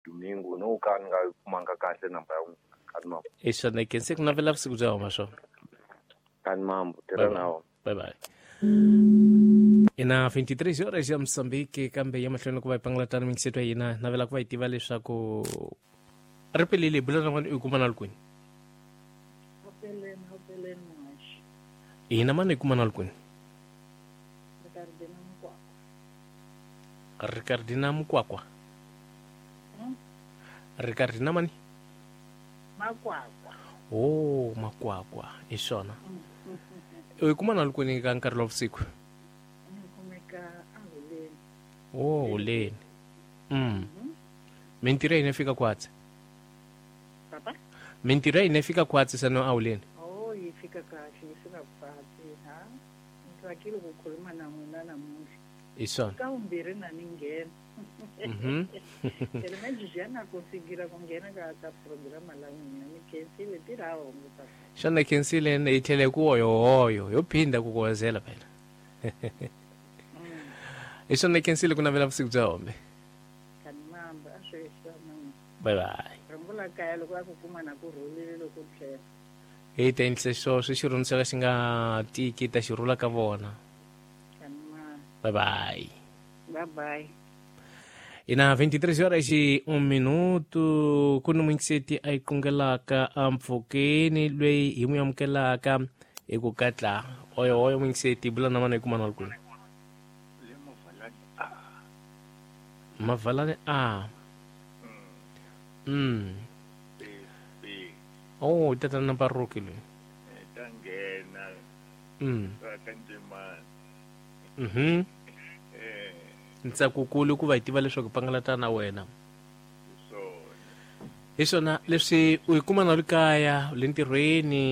Domingo no ka ni nga yi kumanga kahle namba ya n'wina. Kani mambo. Hi swona khense ku navela vusiku bya huma swona. Kani mambo tirha na wona. Bye bye. Ina 23 horas ya Mozambique kambe ya mahlweni ku va hi pangalatana mingiseto ya hina navela ku va hi tiva leswaku ri pelele bula na n'wana u kuma na likwini. Hopeleni, hopeleni muhaxi. Hina mani hi kuma na likwini. Ricardina Mukwakwa. Ricardina Mukwakwa. Ricardina mani? Makwakwa. Oh, Makwakwa. Hi swona. U kuma na likwini ka nkarhi lowa vusiku? Ni kumeka aHoleni. Oh, Holeni. Mintirho ya hina fika kwatsi. Papa? Mintirho ya hina fika kwatsi sano aHoleni. Oh, yi fika kahle, yi fika kwatsi, ha? Ni tsakile ku khuluma na n'wina namuntlha. Hi swona. Ka vumbirhi na ni nghena. Phela manje ya na konsigira ku nghena ka ka programa la n'wina ni khensile tirha hongo papa. Xana khensile hi tlhele ku hoyohoyo yo phinda ku kuwezela phela. Hi swona khensile ku navela vusiku bya hombe. Kani mamba a swi swona. Bye bye. Rhongo la kaya loko a ku kuma na ku rhulile loko tlhela. Hi ta endlisa swoswo xirhundzu xa ka xi nga tiki ta xi rhula ka vona. Kani mamba. Bye bye. Bye bye. Ina 23 horas e 1 minuto ku ni muingiseti a yi qungelaka ampfhukeni loyi hi n'wi amukelaka hi ku katla oyo oyo muingiseti bula na mana hi kuma na kwini Mavalani a. Oh, tatana Baruki loyi. Ta nghena ka Ntimani. Ntsakukulu ku va hi tiva leswaku pangalata na wena. Hi swona leswi u yi kuma na le kaya le ntirhweni.